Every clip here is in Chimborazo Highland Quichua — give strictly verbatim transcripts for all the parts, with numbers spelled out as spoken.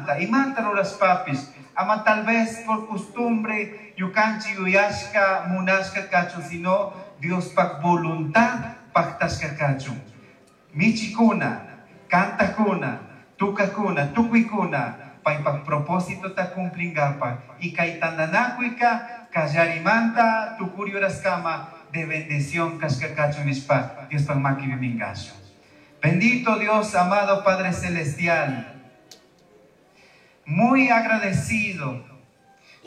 punllamanta imata rurashpapish ama tal vez por costumbre ñukanchik yuyashka munashka kachun, sino Diospaj voluntad pactashka kachun. Michikuna, kantakuna, tukakuna, tukuykuna paypak propósito ta cumplingapaj y kay tantanakuyka kallarimanta tukuri horaskama de bendición kashka kachun nishpa Diospaj makipi minkashun. Bendito Dios, amado Padre Celestial, muy agradecido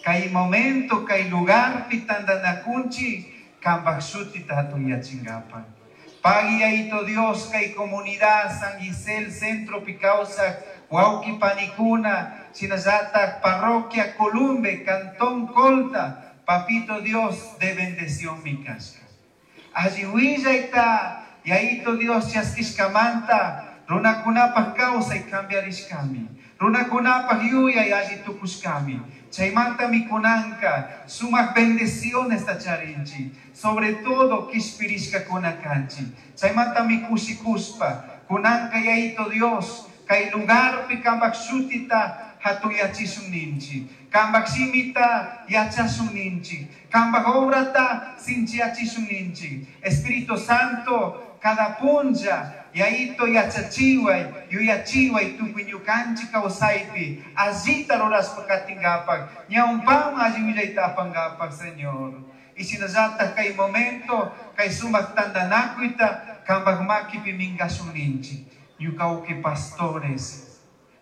kay momento, kay lugarpi tantanakunchik kambaj shutita hatunyachingapaj. Pagui Yaito Dios, kay comunidad San Gisel, Centro kawsaj, wawqi panikuna, shinallatak, Parroquia Columbe, Cantón Colta, Papito Dios, de bendición mi kashka. Alli willayta, Yaito Dios, chaskishkamanta, runakunapaj kawsay cambiarishkami, runakunapaj yuyay alli tukushkami. Chaymanta mikunanka, sumak bendiciones ta charinchi, sobre todo kishpirishkakuna kanchi. Chaymanta mikushikushpa, kunanka Yaito Dios, kay lugarpi kambak shutita hatuyachishun ninchi, kambak shimita yachashun ninchi, kambak obrata sinchiyachishun ninchi. Espíritu Santo, cada punlla, Yaito yachachiway, yuyachiway, tukuy ñukanchik kawsaypi, allita rurashpa katingapak, ñawpaman alli willayta apangapak, Señor. Y shinallatak kay momento, kay sumak tantanakuyta, kambak makipi minkashun ninchik. Ñuka pastores,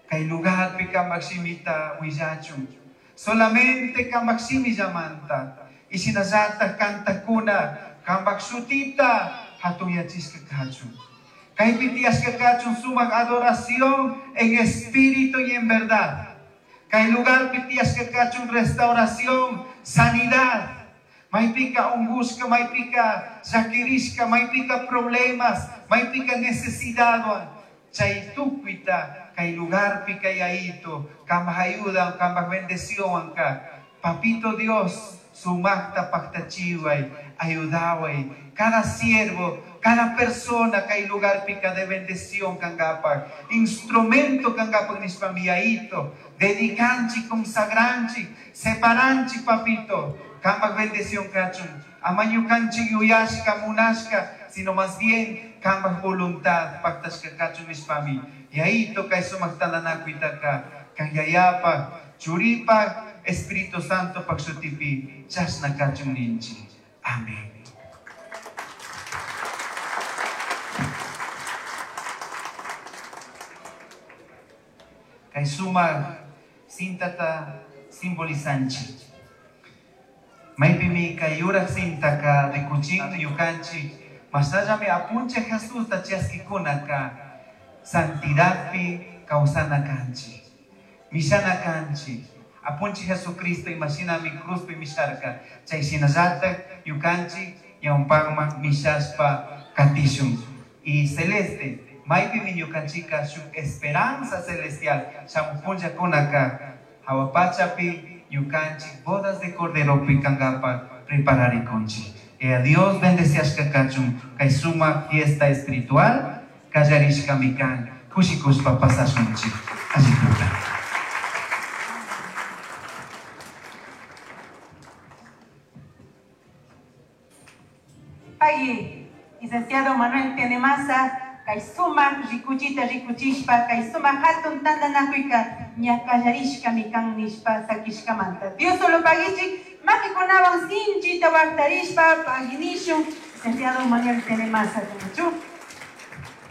kay lugarpi kambak shimita willachun. Solamente kambak shimi llamanta. Y shinallatak kantakuna, kambak shutita hatunyachishka kachun. Kaypi tiyashka kachun sumak adoración en espíritu y en verdad. Kay lugarpi tiyashka kachun restauración, sanidad. Maypika ungushka, maypika llakirishka, maypika problemas, maypika necesidadwan. Chay tukuyta kay lugarpi kay Yaito, kambaj ayuda, kambaj bendición ka. Papito Dios, sumakta paktachiway, ayudaway. Cada siervo, cada persona kay lugarpi de bendición kangapak, instrumento kangapak nishpa mi Yaito, dedicanchi, consagranchi, separanchi, papito, kambaj bendición kachun. Ama ñukanchik yuyashka, munashka, sino más bien kambaj voluntad paktashka kachun nishpami. Yaito kay sumak tantanakuytaka, kan Yayapaj, Churipaj, Espíritu Santo pak shutipi, chashna kachun ninchi. Amén. Kay sumak sintata simbolizanchi. Maypimi kay yurak sintaka rikuchin ñukanchik, masallami apunchik Jesusta chaskikunaka santidadpi kawsana kanchik, mishana kanchik. Apunchik Jesucristo imashinami cruzpi misharka, chay shinallatak ñukanchik ñawpakman mishashpa katishun. Y celeste, maypimi ñukanchika shuk esperanza celestial shamuq punllakunaka hawa pachapi ñukanchik bodas de corderopi kangapak prepararikunchik. Y a Dios bendeciashka kachun kay sumak fiesta espiritual kallarishkami kan kushikushpa pasashunchik. Allituta. Pagui, licenciado Manuel Tenemaza, kay sumak rikuchita rikuchishpa, kay sumak hatun tantanakuyka ña kallarishkami kan nishpa sakishkamanta. Dios solo paguichik, makikunawan sinchita waqtarishpa paguinishun, licenciado Manuel Tenemaza, Tumachu.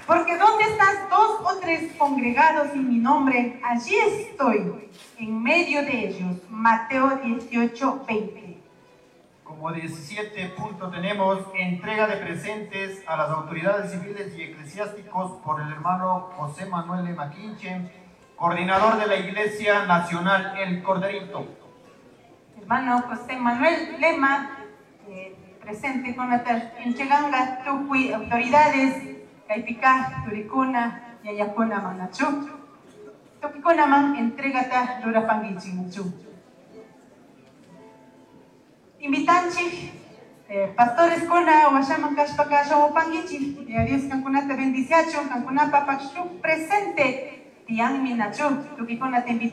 Porque donde estás dos o tres congregados en mi nombre, allí estoy, en medio de ellos. Mateo dieciocho, veinte. Como diecisiete punto tenemos entrega de presentes a las autoridades civiles y eclesiásticos por el hermano José Manuel Lema Quinche, coordinador de la Iglesia Nacional El Corderito. Hermano José Manuel Lema, eh, presente con la entreganga tukuy autoridades, Kaypika, Turikuna, Yayakuna, Manachu. Tukikuna man entregata rurapangichi, Machu. Invitanchi, eh, pastores kuna, washaman kashpaka, shamupangichi, y a Dios kankunata bendiciachu, kankunapa pakshu presente, tian minachu, tukikuna te invitamos.